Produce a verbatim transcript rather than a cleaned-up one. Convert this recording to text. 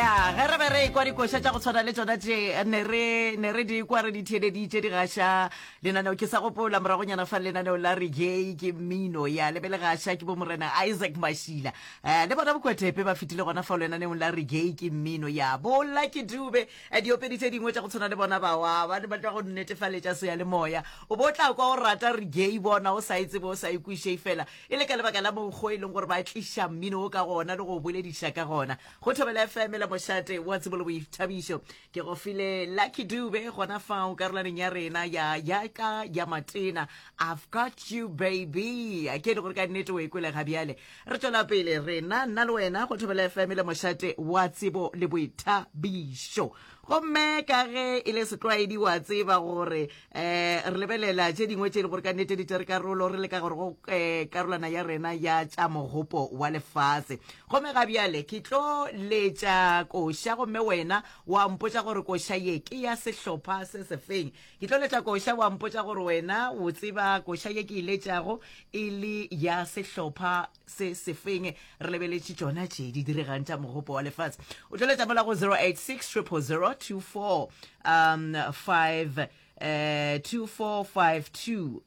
Ya, ge re be re ekwa dikoša tša go tshwana le tšona tše, ne re ne re di kwa re di theeleditše di gaša lenaneo. Ke sa gopola moragonyana fa lenaneo la Reggae ke mmino, ya le be le gaša ke bo Morena Isaac Mashila. Eh, le bona Bokwetepe ba fetile gona fao lenaneong la Reggae ke mmino, ya bo Lucky Dube, eh, diopedi tše dingwe tša go tshwana le bona bawa ba ne ba tla go netefaletša seyalemoya. O bo tla kwa o rata reggae bona o sa e tsebe, o sa e kweše, fela e le ka lebaka la mokgwa e leng gore ba tliša mmino o ka gona le go bolediša ka gona. Go Thobela F M la mošate wa tsebo le boithabišo, ke go file Lucky Dube gona fao karolaneng ya rena ya ya ka ya matena, "I've Got You Baby", ke e le gore ka nnete o e kwele. Ga bjale re tšwela pele rena, nna le wena, go Thobela F M le mošate wa tsebo le boithabišo. Gomme ka ge e le setlwaedi, wa tseba gore um re lebelela tše dingwe tše e le gore ka nnete di tšere karolo, re leka gore go um karolwana ya rena ya tša mogopo wa lefase. Gomme ga bjale ke tlo letša koša, gomme wena wa mpotša gore koša ye ke ya sehlopha se sefeng. Ke tlo letša koša, wa mpotša gore wena o tseba koša ye ke e letšago e le ya sehlopha se sefeng. Re lebeletše tšona tše di diregang tša mogopo wa lefase. O tlo letša mola go zero eight six zero zero zero two four um five eh, two four five two.